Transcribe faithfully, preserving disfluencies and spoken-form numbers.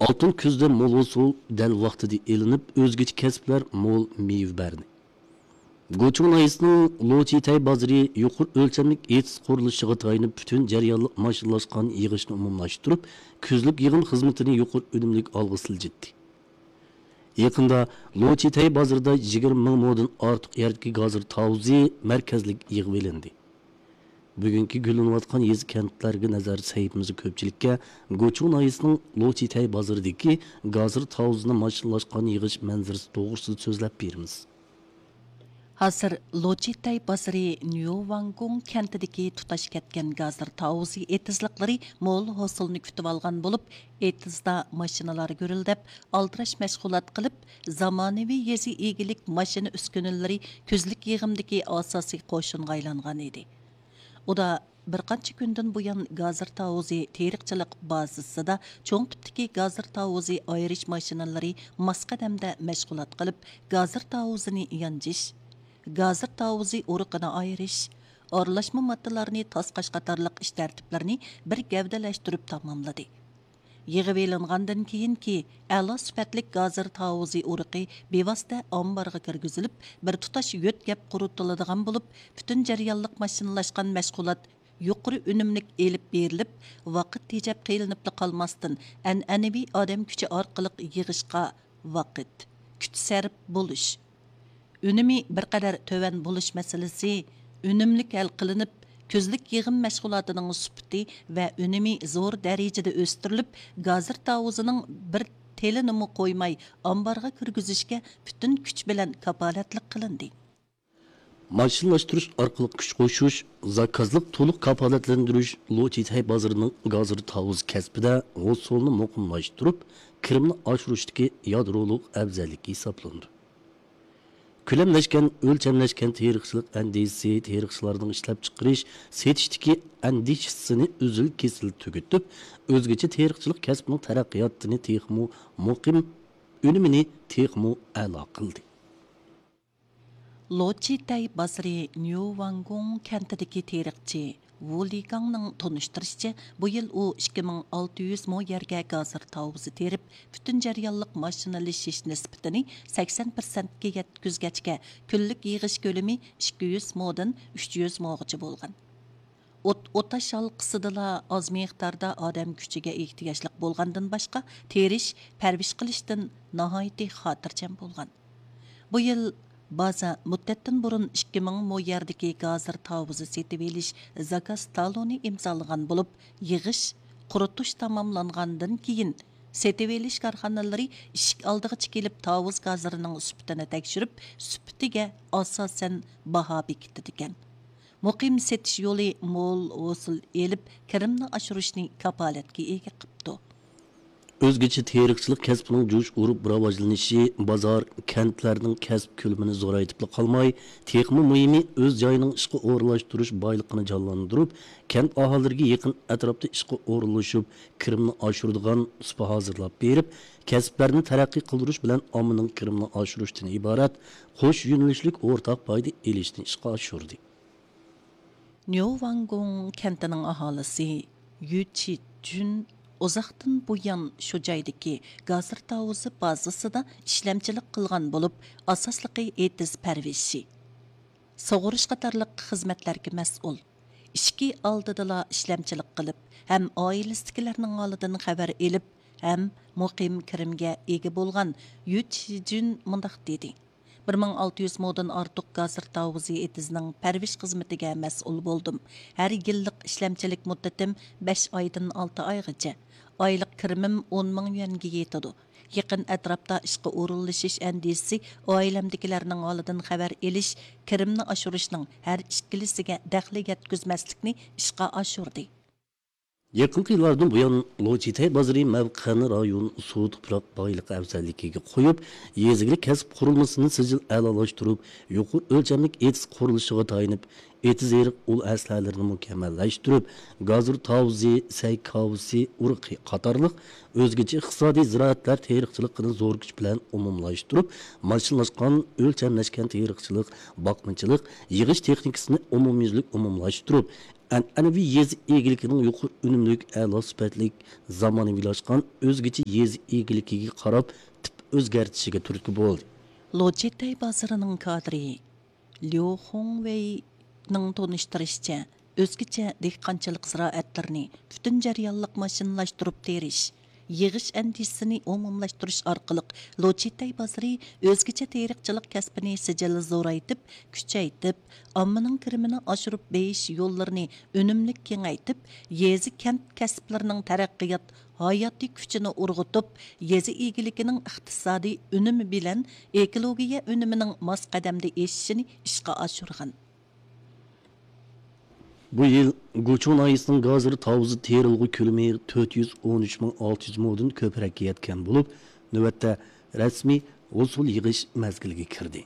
ئالتۇن كۈزدە مول ھوسۇل دەل ۋاقتىدا ئېلىنىپ، ئۆزگىچە كەسىپلەر مول مېۋە بەردى. گۇچۇڭ ناھىيەسىنىڭ لوچىتەي بازىرى يۇقىرى ئۆلچەملىك ئېتىز قۇرۇلۇشىغا تايىنىپ، پۈتۈن جەريانلىق ماشىنىلاشقان يىغىشنى ئومۇملاشتۇرۇپ، كۈزلۈك يىغىم خىزمىتىنى يۇقىرى ئۈنۈملۈك ئالغا سىلجىتتى. يېقىندا لوچىتەي بازىرىدا يىگىرمە مىڭ مودىن ئارتۇق يەردىكى گازىر تاۋۇزى مەركەزلىك يىغىۋېلىندى. بۈگۈنكى گۈللىنىۋاتقان يېزا، كەنتلەرگە نەزەر سەھىپىمىزدە كۆپچىلىككە گۇچۇڭ ناھىيەسىنىڭ لوچىتەي بازىرىدىكى گازىر تاۋۇزىنى ماشىنىلاشقان يىغىش مەنزىرىسى توغرىسىدا سۆزلەپ بېرىمىز. ھازىر لوچىتەي بازىرى نيۇۋاڭگۇڭ كەنتىدىكى تۇتاش كەتكەن گازىر تاۋۇزى ئېتىزلىقلىرى مول ھوسۇلنى كۈتۈۋالغان بولۇپ، ئېتىزدا ماشىنىلار گۈرۈلدەپ، ئالدىراش مەشغۇلات قىلىپ، زامانىۋى يېزا ئىگىلىك ماشىنا ئۈسكۈنىلىرى كۈزلۈك يىغىمدىكى ئاساسىي قوشۇنغا ئايلانغان ئىدى. ئۇدا بىر قانچە كۈندىن بۇيان، گازىر تاۋۇزى تېرىقچىلىق بازىسىدا چوڭ تىپتىكى گازىر تاۋۇزى ئايرىش ماشىنىلىرى ماس قەدەمدە مەشغۇلات قىلىپ، گازىر تاۋۇزىنى يانچىش، گازىر تاۋۇزى ئۇرۇقىنى ئايرىش، ئارىلاشما ماددىلارنى تاسقاش قاتارلىق ئىش تەرتىپلىرىنى بىر گەۋدىلەشتۈرۈپ تاماملىدى. يىغىۋېلىنغاندىن كېيىنكى ئەلا سۈپەتلىك گازىر تاۋۇزى ئۇرۇقى بىۋاسىتە ئامبارغا كىرگۈزۈلۈپ، بىر تۇتاش يۆتكەپ قۇرۇتۇلىدىغان بولۇپ، پۈتۈن جەريانلىق ماشىنىلاشقان مەشغۇلات يۇقىرى ئۈنۈملۈك ئېلىپ بېرىلىپ، ۋاقىت تېجەپ قىينىلىپلا قالماستىن، ئەنئەنىۋى ئادەم كۈچى ئارقىلىق يىغىشقا ۋاقىت، كۈچ سەرپ بولۇش، ئۈنۈمى بىر قەدەر تۆۋەن بولۇش مەسىلىسى ئۈنۈملۈك ھەل قىلىنىپ، كۈزلۈك يىغىم مەشغۇلاتىنىڭ سۈپىتى ۋە ئۈنۈمى زور دەرىجىدە ئۆستۈرۈلۈپ، گازىر تاۋۇزىنىڭ بىر تېلىنىمۇ قويماي ئامبارغا كىرگۈزۈشكە پۈتۈن كۈچ بىلەن كاپالەتلىك قىلىندى. ماشىنىلاشتۇرۇش ئارقىلىق كۈچ قوشۇش، زاكازلىق تولۇق كاپالەتلەندۈرۈش لوچىتەي بازىرىنىڭ گازىر تاۋۇز كەسپىدە ھوسۇلنى مۇقىملاشتۇرۇپ، كىرىمنى ئاشۇرۇشتىكى يادرولۇق ئەۋزەللىكى ھېسابلىنىدۇ. كۆلەملەشكەن، ئۆلچەملەشكەن تېرىقچىلىق ئەندىزىسى تېرىقچىلارنىڭ ئىشلەپچىقىرىش، سېتىشتىكى ئەندىشىسىنى ئۈزۈل-كېسىل تۈگىتىپ، ئۆزگىچە تېرىقچىلىق كەسپىنىڭ تەرەققىياتىنى تېخىمۇ مۇقىم، ئۈنۈمىنى تېخىمۇ ئەلا قىلدى. لوچىتەي بازىرى نيۇۋاڭگۇڭ كەنتىدىكى تېرىقچى ۋۇ لىگاڭنىڭ تونۇشتۇرۇشىچە، بۇ يىل ئۇ ئىككى مىڭ ئالتە يۈز مو يەرگە گازىر تاۋۇزى تېرىپ، پۈتۈن جەريانلىق ماشىنىلىشىش نىسبىتىنى سەكسەن پىرسەنتكە يەتكۈزگەچكە، كۈنلۈك يىغىش كۆلىمى ئىككى يۈز مودىن ئۈچ يۈز موغىچە بولغان. ئوت-، ئوتاش ھالقىسىدىلا ئاز مىقداردا ئادەم كۈچىگە ئېھتىياجلىق بولغاندىن باشقا، تېرىش، پەرۋىش قىلىشتىن ناھايىتى خاتىرجەم بولغان. بۇ يىل بازا مۇددەتتىن بۇرۇن ئىككى مىڭ مو يەردىكى گازىر تاۋۇزى سېتىۋېلىش زاكاز تالونى ئىمزالىغان بولۇپ، يىغىش، قۇرۇتۇش تاماملانغاندىن كېيىن، سېتىۋېلىش كارخانىلىرى ئىشىك ئالدىغىچە كېلىپ، تاۋۇز گازىرىنىڭ سۈپىتىنى تەكشۈرۈپ، سۈپىتىگە ئاساسەن باھا بېكىتىدىكەن. مۇقىم سېتىش يولى مول ھوسۇل ئېلىپ، كىرىمنى ئاشۇرۇشنى كاپالەتكە ئىگە قىپتۇ. ئۆزگىچە تېرىقچىلىق كەسپىنىڭ جۇش ئۇرۇپ راۋاجلىنىشى بازار، كەنتلەرنىڭ كەسىپ كۆلىمىنى زورايتىپلا قالماي، تېخىمۇ مۇھىمى، ئۆز جايىنىڭ ئىشقا ئورۇنلاشتۇرۇش بايلىقىنى جانلاندۇرۇپ، كەنت ئاھالىلىرىگە يېقىن ئەتراپتا ئىشقا ئورۇنلىشىپ، كىرىمنى ئاشۇرىدىغان سۇپا ھازىرلاپ بېرىپ، كەسىپلەرنى تەرەققىي قىلدۇرۇش بىلەن ئاممىنىڭ كىرىمىنى ئاشۇرۇشتىن ئىبارەت قوش يۆنىلىشلىك ئورتاق پايدا ئېلىشنى ئىشقا ئاشۇردى. نيۇۋاڭگۇڭ كەنتىنىڭ ئاھالىسى يۈ چىجۈن ئۇزاقتىن بۇيان شۇ جايدىكى گازىر تاۋۇزى بازىسىدا ئىشلەمچىلىك قىلغان بولۇپ، ئاساسلىقى ئېتىز پەرۋىشى، سۇغۇرۇش قاتارلىق خىزمەتلەرگە مەسئۇل. ئىشىكى ئالدىدىلا ئىشلەمچىلىك قىلىپ، ھەم ئائىلىسىدىكىلەرنىڭ ھالىدىن خەۋەر ئېلىپ، ھەم مۇقىم كىرىمگە ئىگە بولغان يۈ چىجۈن مۇنداق دېدى: بىر مىڭ ئالتە يۈز مودىن ئارتۇق گازىر تاۋۇزى ئېتىزىنىڭ پەرۋىش خىزمىتىگە مەسئۇل بولدۇم. ھەر يىللىق ئىشلەمچىلىك مۇددىتىم بەش ئايدىن ئالتە ئايغىچە. ئايلىق كىرىمىم ئون مىڭ يۈەنگە يېتىدۇ. يېقىن ئەتراپتا ئىشقا ئورۇنلىشىش ئەندىزىسى ئائىلەمدىكىلەرنىڭ ھالىدىن خەۋەر ئېلىش، كىرىمنى ئاشۇرۇشنىڭ ھەر ئىككىلىسىگە دەخلى يەتكۈزمەسلىكنى ئىشقا ئاشۇردى. يېقىنقى يىللاردىن بۇيان، لوچىتەي بازىرى مەۋقەنى رايون سۇ تۇپراق بايلىقى ئەۋزەللىكىگە قويۇپ، يېزا ئىگىلىك كەسىپ قۇرۇلمىسىنى سىجىل ئەلالاشتۇرۇپ، يۇقىرى ئۆلچەملىك ئېتىز قۇرۇلۇشىغا تايىنىپ، ئېتىز ئېرىق ئۇل ئەسلىھەلىرىنى مۇكەممەللەشتۈرۈپ، گازىر تاۋۇزى، سەي كاۋىسى ئۇرۇقى قاتارلىق ئۆزگىچە ئىقتىسادىي زىرائەتلەر تېرىقچىلىقىنى زور كۈچ بىلەن ئومۇملاشتۇرۇپ، ماشىنىلاشقان، ئۆلچەملەشكەن تېرىقچىلىق، باقمىچىلىق، يىغىش تېخنىكىسىنى ئومۇميۈزلۈك ئومۇملاشتۇرۇپ، ئەنئەنىۋى يېزا ئىگىلىكىنىڭ يۇقىرى ئۈنۈملۈك، ئەلا سۈپەتلىك، زامانىۋىلاشقان ئۆزگىچە يېزا ئىگىلىكىگە قاراپ تىپ ئۆزگەرتىشىگە تۈرتكە بولدى. لوچىتەي بازىرىنىڭ كادىرى ليۇ خۇڭۋېينىڭ تونۇشتۇرۇشىچە، ئۆزگىچە دېھقانچىلىق زىرائەتلىرىنى پۈتۈن جەريانلىق ماشىنىلاشتۇرۇپ تېرىش، يىغىش ئەندىزىسىنى ئومۇملاشتۇرۇش ئارقىلىق، لوچىتەي بازىرى ئۆزگىچە تېرىقچىلىق كەسپىنى سىجىل زورايتىپ، كۈچەيتىپ، ئاممىنىڭ كىرىمىنى ئاشۇرۇپ بېيىش يوللىرىنى ئۈنۈملۈك كېڭەيتىپ، يېزا، كەنت كەسىپلىرىنىڭ تەرەققىيات ھاياتىي كۈچىنى ئۇرغۇتۇپ، يېزا ئىگىلىكىنىڭ ئىقتىسادىي ئۈنۈمى بىلەن ئېكولوگىيە ئۈنۈمىنىڭ ماس قەدەمدە ئېشىشىنى ئىشقا ئاشۇرغان. بۇ يىل گۇچۇڭ ناھىيەسىنىڭ گازىر تاۋۇزى تېرىلغۇ كۆلىمى تۆت يۈز ئون ئۈچ مىڭ ئالتە يۈز مودىن كۆپرەككە يەتكەن بولۇپ، نۆۋەتتە رەسمىي ھوسۇل يىغىش مەزگىلىگە كىردى.